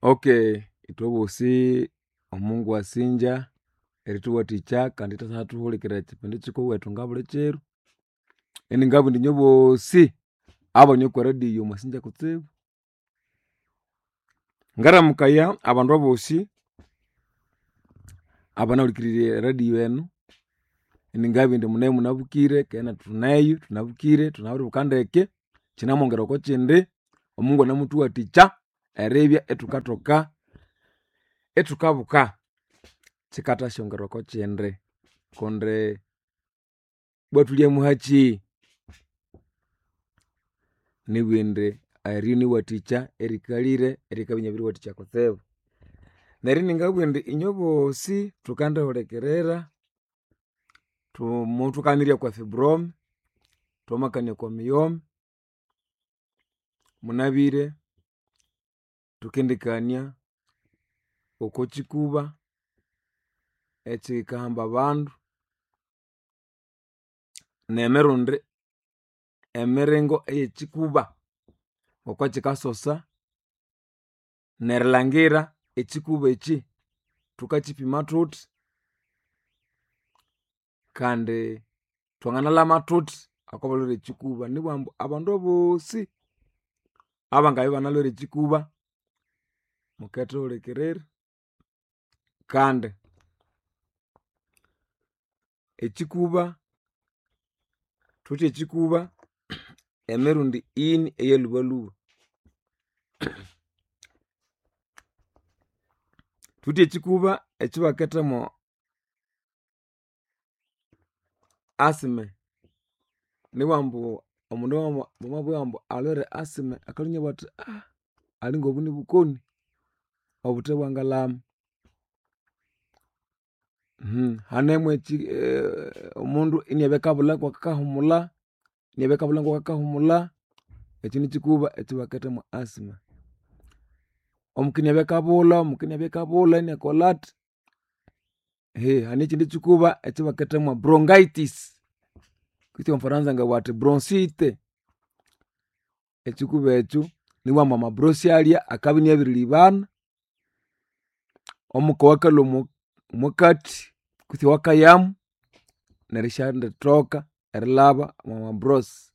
Okay, ithwebosi omungu wasinja erithuwathikya kandi ithwathuhulikirira ekyipindi kyikuwethu ngabuli kiro. Iningabugha indi inywe bosi abane okwa radio mwasinja kutsibu. Ngaramukaya abandu abosi abanahulikirire eradio enu, iningabugha indi munaye munabukire keghe nethu thuneyo thunabukire thunabiribuka ndeke, kyinamwongera okwakyindi, omungu anamuthuwathikya eribya ithukathoka ithukabuka. Kyikathasyongera okwakyindi kundi ibwa thulyamuhakyi. Nibugha indi eryo niwathikya erikalire erikabya inabiriwathikya kutsibu. Neryo iningabugha indi inywe bosi thukandihulikirira, muthukanirya okwa fibrome, thwamakania okwa miyome, munabire thukendikania okokyikuba ekyikahamba abandu, nemirundi emiringo eyekyikuba ngokukyikasosa, nerilhangira ekyikuba ekyi thukakyipima thuthi, kandi thwanganalhama thuthi okobalhwere ekyikuba. Nibughambu abandu abosi abangabya ibanalhwere ekyikuba mukethuhulikirira kandi ekyikuba thuwithe ekyikuba emirundi ini eyalhubalhuba. Thuwithe ekyikuba ekyabakethamo asthma nibughambu omundu bamabughambu alhwere asthma akalhwa inabugha athi alinga obu nibukoni obuthe bwangalhama. Hanemu omundu inabya akabulha ngokakahumulha, inabya akabulha ngokakahumulha, ekyu nikyikuba ekyabaketha mwa asthma. Omuka inabya akabulha, omuka inabya akabulha inakolhathi. Hane ekyindi kyikuba ekyabaketha mwa bronchitis kutse omwa Franza ngabugha athi bronchite. Ekyikuba ekyu nibughambu amabronchi alya akabya inabiribana, omuka owakalhwa omwakathi kutse owakayamu neryo isyanditoka erilhaba omwa bronchi.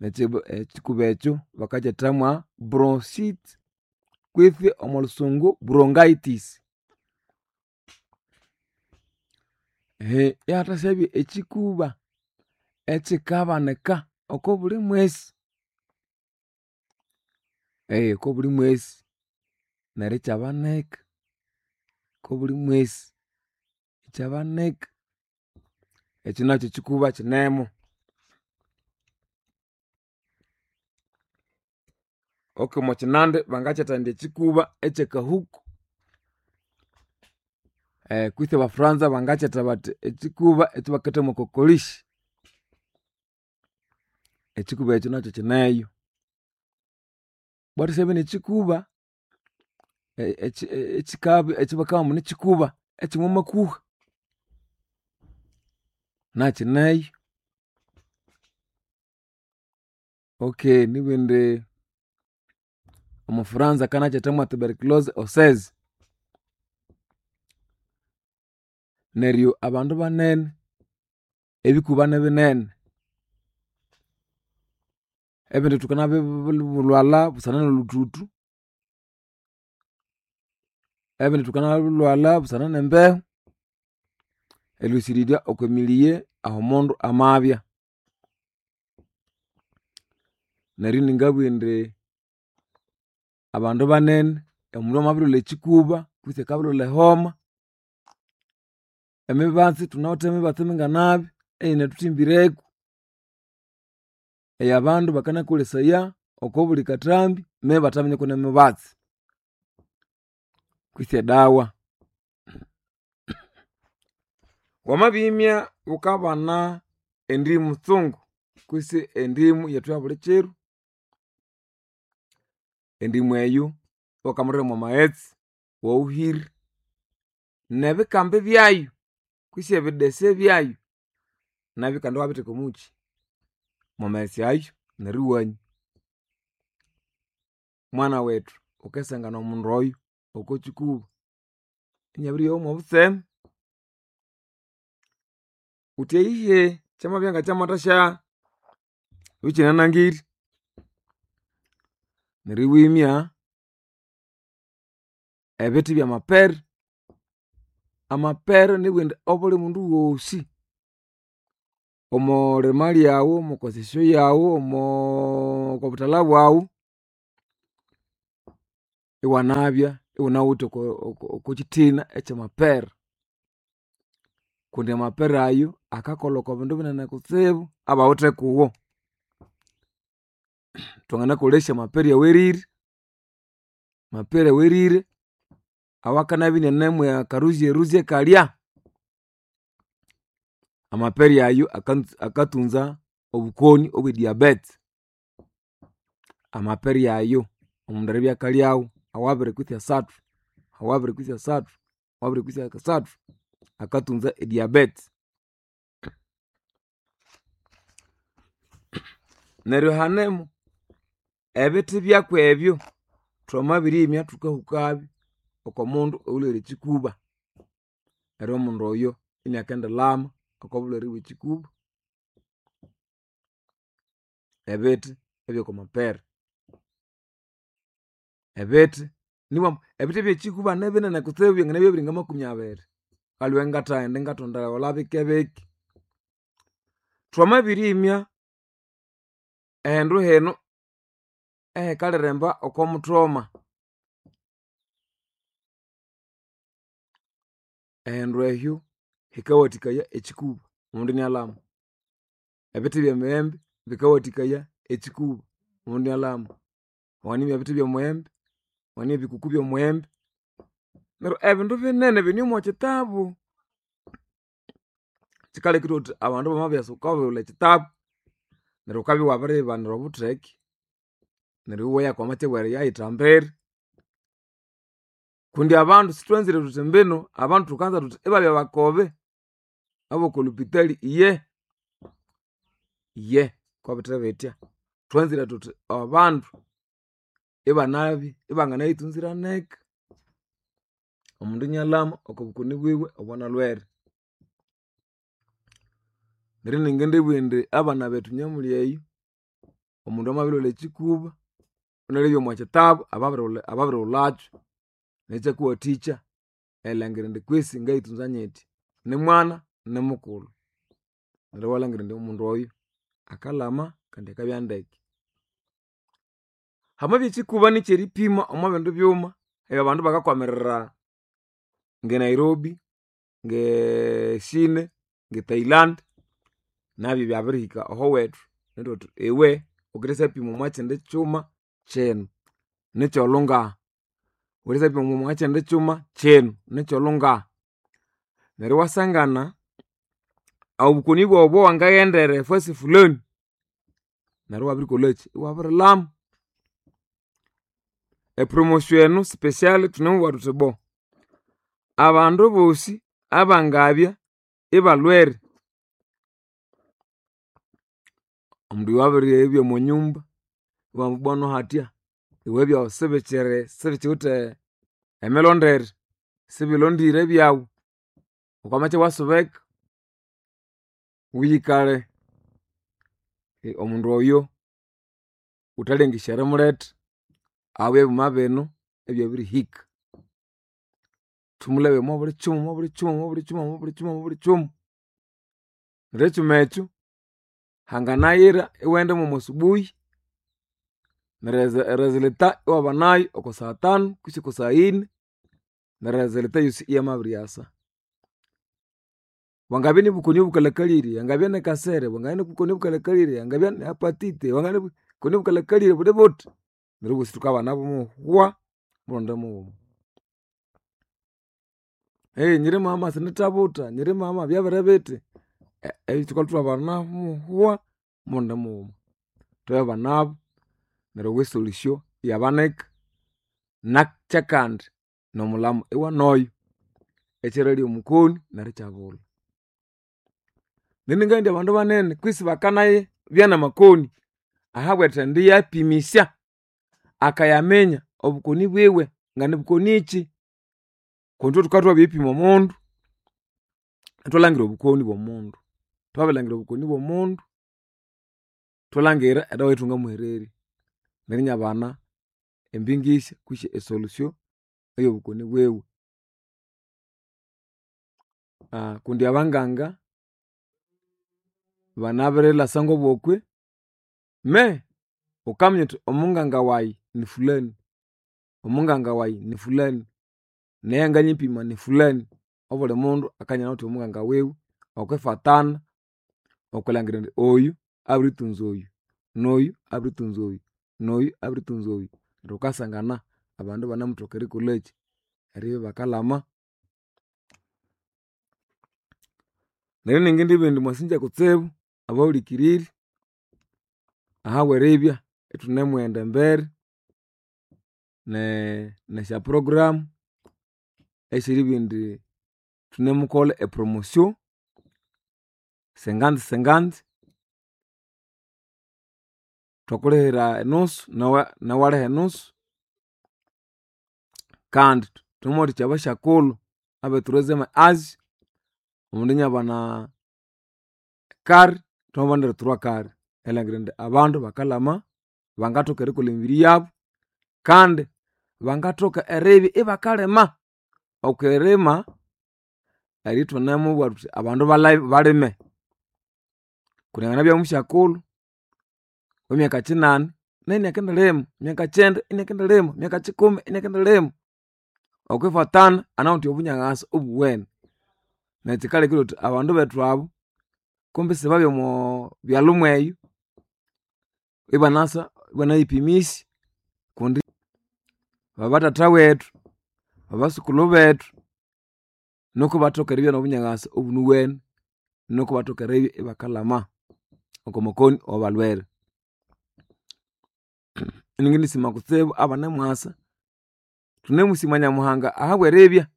Ekyikuba ekyu bakakyetha mwa bronchite kwitsi omo lhusungu bronchitis. Ihathasyabya ekyikuba ekyikabanika okobuli mwesi, okobuli mwesi neryo ikyabanika okobuli mwesi, ikyabanika. Ekyu nakyu kyikuba kyinemu. Okay omwakyinandi bangakyetha indi ekyikuba ekyakahuku kwitsi aba Franza bangakyetha bathi ekyikuba ekyabaketha mwakokolishi. Ekyikuba ekyu nakyu kyineyo. Bwathasyabya nekyikuba ekyabakabughambu nikyikuba ekyomwamakuha nakyineyo. Okay nibugha indi omwa Franza akanakyetha mwa tuberculose osseuse. Neryo abandu banene, ebikuba nibinene, ebindi thukanabilhwalha busana nolhuthuthu, ebindi thukanabilhwalha busana nembehu, erilhusirirya okwemilighe ahomundu amabya. Neryo iningabugha indi abandu banene omundu amabirilhwalha ekyikuba kutse akabirilhwalha ehoma, emibatsi thunawithe emibatsi minganabi eyinathuthimbireku, eyabandu bakanakolesaya okobuli kathambi me bathaminya kwenemibatsi kwitsi edawa. Wamabimya wukabana endimu tsungu kwitsi endimu yethu eyabulikyiro, endimu eyo iwakamulira mwamaghetse iwawuhira nebikambi byayu kwitsi ebidese byayu nabyu kandi iwabitheka omukyi mwamaghetse ayo neryo iwanywa. Mwana wethu. Wukasangana omundu oyo oko kikuba inabiryowa mwobutseme. Wuthi eyihe kyamabya ngakyamathasya ikyinanangire. Neryo iwimya ebithi byamapere. Amapere nibugha indi obuli mundu ghosi omolima lyaghu, omokonsession yaghu, okobuthalha bwaghu, iwanabya iwunawithe okokyithina ekyamapere. Kundi amapere ayo akakolha okobindu binene kutsibu abawithe kuwo. Twanganakolesya amapere awerire, amapere awerire awakanabya inane mwakaruzyeruze kalya. Amapere ayo akatunza obukoni obwe diabete. Amapere ayo omundu eribya akalyawo awabiri kwitsi asathu, awabiri kwitsi asathu, awabiri kwitsi asathu, akatunza ediabete. Neryo hanemo ebithi byakwebyo thwamabirimya thukahukabyo okomundu oyulhwere ekyikuba. Neryo omundu oyo inakendilhama okobulhwere bwekyikuba. Ebithi ebyokwamapere. Ebithi nibwambu ebithi byekyikuba nibinene kutsibu byanganabya biringa makumi abiri. Aliwe ngathaghenda ingathondigholha bikebike. Thwamabirimya ehindu hino ehikaliremba okomuthoma, ehindu ehyo hikawathikaya ekyikuba omundu inalhama. Ebithi byemiyembe bikawathikaya ekyikuba omundu inalhama. Wanganimya ebithi byomuyembe, wanganimya ebikuku byomuyembe. Neryo ebindu binene bine omokyitabu. Kyikaleka ithwabugha thuthi abandu bamabyasa wukabulha ekyitabu neryo wukabya iwabiriyibanira obutheke neryo iwoya okwamatsi aweriyayithambira. Kundi abandu sithwanzire thuthi mbino abandu thukanza thuthi ibabya bakobe abokolhupitali iye, iye kobithebitya. Thwanzire thuthi abandu ibanabya ibanganayithunzira ndeke. Omundu inalhama okobukoni bwiwe obwanalhwere. Neryo iningindibugha indi abana bethu namuli eyo, omundu amabilhwalha ekyikuba wunalebye omwakyitabu ababirighulhakyu nekyakuwathikya erilhangira indi kwisi ngayithunza nyithya. Nimwana nimukulhu. Neryo iwalhangira indi omundu oyo akalhama kandi akabya ndeke. Hamabya ekyikuba nikyeripima omwabindi byuma ebyabandu bakakwamirira nge Nairobi, nge Chine, nge Thailand, nabyo byabirihika ahowethu neryo ithwabugha thuthi iwe wukendisyapima omwakyindi kyuma kyino nikyolhungaha, wukendisyapima omwakyindi kyuma kyino nikyolhungaha. Neryo iwasangana obukoni bwawu obwawangaghendera efasi fulani neryo iwabirikolhakyi iwabirilhama. Epromotion enu special thunemubugha thuthi bo abandu bosi abangabya ibalhwere, omundu oyo abiribya omwanyumba ibabughambu bwanu hatya iwe ebyawu sibikyiri sibikiwithe emilondere, sibilondire ebyawu, wukamacha iwasuba eka wuyikalhe. Omundu oyo wuthalengesya erimuletha ahabwa ebyuma bino ebyabirihika. Thumulebe omwabuli kyuma omwabuli kyuma omwabuli kyuma omwabuli kyuma omwabuli kyuma. Neryo ekyuma ekyo hanganayira iwaghenda mwomwasubuyi neryo eresulta iwabanayo oko saa tanu kwitsi oko saa yine neryo eresulta eyosi iyamabiryasa. Bwangabya nibukoni obukalhakalire, angabya nikasere, bwangabya nibukoni obukalhakalire, angabya ni hepatite, bwangabya nibukoni obukalhakalire buli buthi, neryo obosi thukabanabo hwa murundi mughuma. Nyiri mama sindithabutha, nyiri mama byabiribithi, thukalhwa ithwabanamu hwa murundi mughuma. Thwabiribanabo neryo esolution iyabanika nakyakandi nomulhamo iwanoyo ekyeralya omukoni neryo ikyabulha. Neryo iningabugha indi abandu banene kwisi bakanabya namakoni ahabwerithendi yapimisya akayaminya. Obukoni bwiwe nga nibukonikyi. Kundi ithwe thukabya thwabiripima omundu, ithwalhangira obukoni bw'omundu. Thwabirilhangira obukoni bw'omundu, ithwalhangira edawa eyathwangamuhererya neryo inabana embingisya kwisi esolution eyobukoni bwiwe. Kundi abanganga banabirilhasa ngobokwe me wukaminya wuthi omunganga wayi ni fulani, omunganga wayi ni fulani, neyanganyipima ni fulani. Obuli mundu akabya inanawithe omunganga wiwe okwifatana okwilangira indi oyu abirithunza oyu, noyu abirithunza oyu, noyu abirithunza oyu. Neryo wukasangana abandu ibanemuthoka erikolhakyi eribya ibakalhama. Neryo iningindibugha indi mwasinja kutsibu abahulikiriri ahabweribya ithunemughenda embere nesya program esyeribugha indi thunemukolha e promotion cinquante cinquante, thwakulihira enusu nawe iwaliha enusu. Kandi thunemuwathikya abasyakulhu abe troisieme age omundu inabana kare thwamabanira e trois kare erilhangira indi abandu bakalhama bangathoka erikolha emibiri yabu kandi bangathoka eribya ibakalima. Okwirima eribya ithwanemubugha thuthi abandu balime. Kundi anganabya musyakulhu wemyaka kyinani nayu inakendilima, myaka kyenda inakendilima, myaka kyikumi inakendilima. Okwifatana anawithe obunyaghasa obuwene. Neryo kyikalekire thuthi abandu bethu abu kumbi isibabya omo byalhu mweyo ibanasa ibanayipimisya kundi babathatha wethu, babasukulhu bethu nuku ibathoke eribya nobunyaghasa obunuwene nuku ibathoka eribya ibakalhama oko makoni awabalhwere. Iningindisima kutsibu abanemwasa, thunemusima Nyamuhanga ahabweribya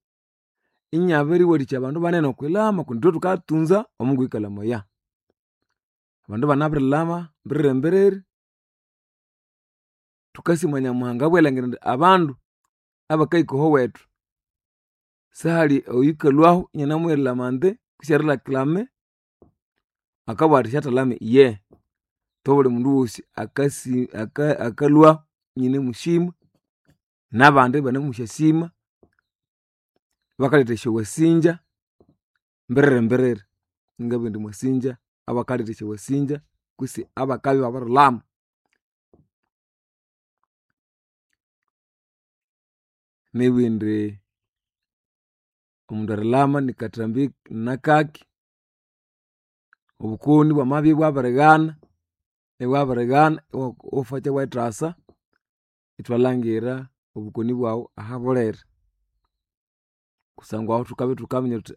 inabiriwathikya abandu banene okwilhama kundi ithwe thukatunza omungu oyukalamaya. Abandu banabirilhama mbiriri mbiriri, thukasima Nyamuhanga ahabwerilangira indi abandu abakahika ahowethu sihali oyukalwahu inanimuyirilama indi kwisi erireklame akabugha athi syathalhame iyehe. Ithwe obuli mundu wosi akasi akalhwahu inianemusima nabandi ibanamusyasima bakaletha esyawasinja mbiriri mbiriri. Ingabugha indi mwasinja abakaletha esyawasinja kwisi abakabya ibabirilhama. Nibugha indi omundu erilhama nikathambi nakaki, obukoni bwamabya ibwabirighana, ibwabirighana iwafakya iwayithasa ithwalhangira obukoni bwawu ahabuliri. Kusangwa ahu thukabya ithukaminya thuthi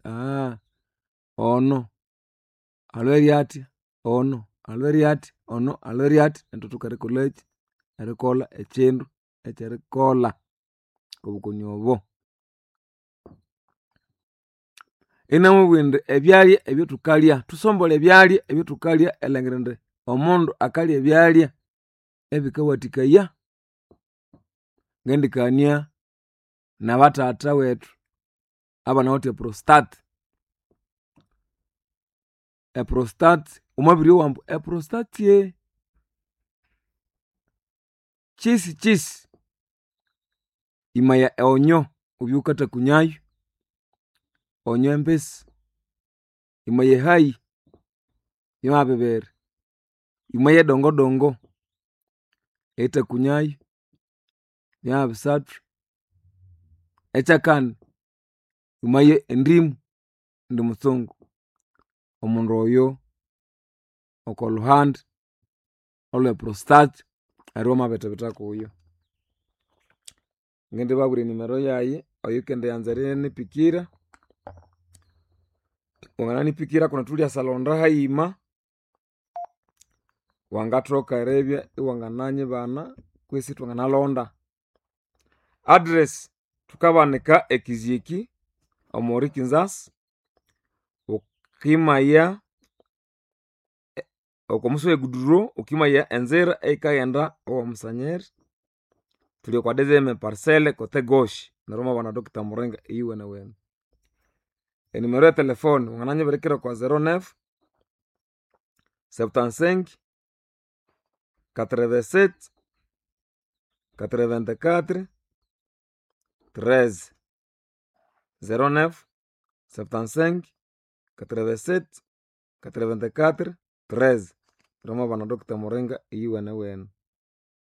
ono alhwere athya, ono alhwere athya, ono alhwere athya inithwathoka erikolhakyi erikolha ekyindu ekyerikolha okobukoni obo. Inamubugha indi ebyalya ebyathukalya, thusombolhe ebyalya ebyathukalya erilhangira indi omundu akalya ebyalya ebikawathikaya. Ngendikania nabathatha wethu abanawithe eprostate. Eprostate wamabiryowa ambu eprostatye kyisikyisi, imaya eonyo wubye wukathakunyayu, onyo embisi, imaya ehayi yamabibera, imaya edongodongo erithakunyayu yamabisathu, ekyakani imaye endimu indi mutsungu. Omundu oyo okolhuhandi olwe prostate neryo wamabithibitha kuyo. Ngindibabwira enimero yayi oyukendianza erinipikira, wangananipikira kundi thuliasalonda hayima, wangathoka eribya iwangananyibana kwisi ithwanganalonda. Address thukabanika ekizyeki omori kinzasi, wukimaya okomusi we guduro wukimaya enzira eyikaghenda owamusanyeri. Thuli okwa deuxième parcelle côté gauche. Neryo mwabana Dr. Muringa eyiwene wene. Enumero ya telefone wangananyibirikira okwa 09 75 87 84 13, 09 75 87 84 13. Neryo mwabana Dr. Muringa eyiwene wene.